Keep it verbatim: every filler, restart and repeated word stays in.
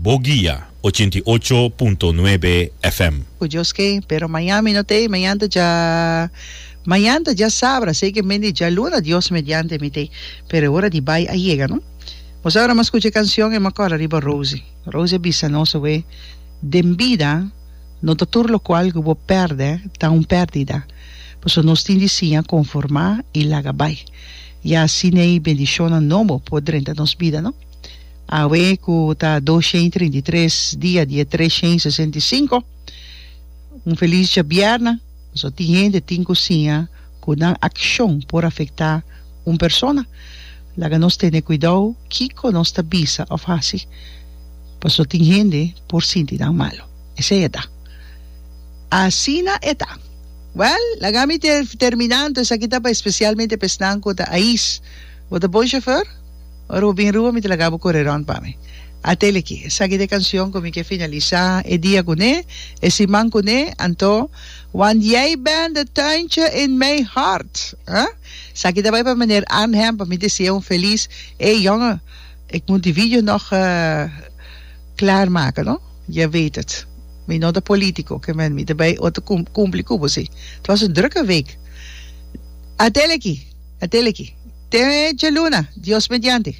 Bo Guia ochenta i ocho punto nuebe F M. Ku Dios ke, pero mañan mi no t'ei, mañan ta dja, mañan ta djasabra, asei ke mende djaluna Dios mediante mi t'ei, pero e ora di bai a yega, no? Bo sa ora mi a skucha e kansion e mi a kòrda riba Rosie. Rosie a bisa nos awe, Den bida no ta tur lokual ku bo pèrdè ta un pèrdida, pasobra nos tin di siña konformá i laga bai, ya asina ei bendishonnan nobo por drenta nos bida, no? Awe ku ta dos shen i trinta i tres dia di e tres shen i sesenta i sinku, un felis djabièrnè, pasobra tin hende tin ku siña ku nan akshon por afektá un persona. Laga nos tene kuidou kiko nos ta bisa òf hasi, pasobra tin hende por sinti nan malu. Esei e ta. Asina e ta. Wèl, laga mi terminá anto esaki ta pa espesialmente pa esnan ku ta ais. Bo ta bon shofèr? Ora bo bin Ruba mi ta laga bo kore rònt pa mi. Atele aki, esaki ta e kanshon ku mi ke finalisá e dia kuné, e siman kuné, anto Want jij bent het tuintje in mijn hart. Huh? Esaki ta bai pa meneer Arnhem pa mi desea un felis. Ey jongen, ik moet die video nog klaar maken no, je weet het. Mi no ta politico, ke men mi ta bai otro kumpli ku bo si. Het was een drukke week. Atele aki. Atele aki. Te djaluna, Dios mediante.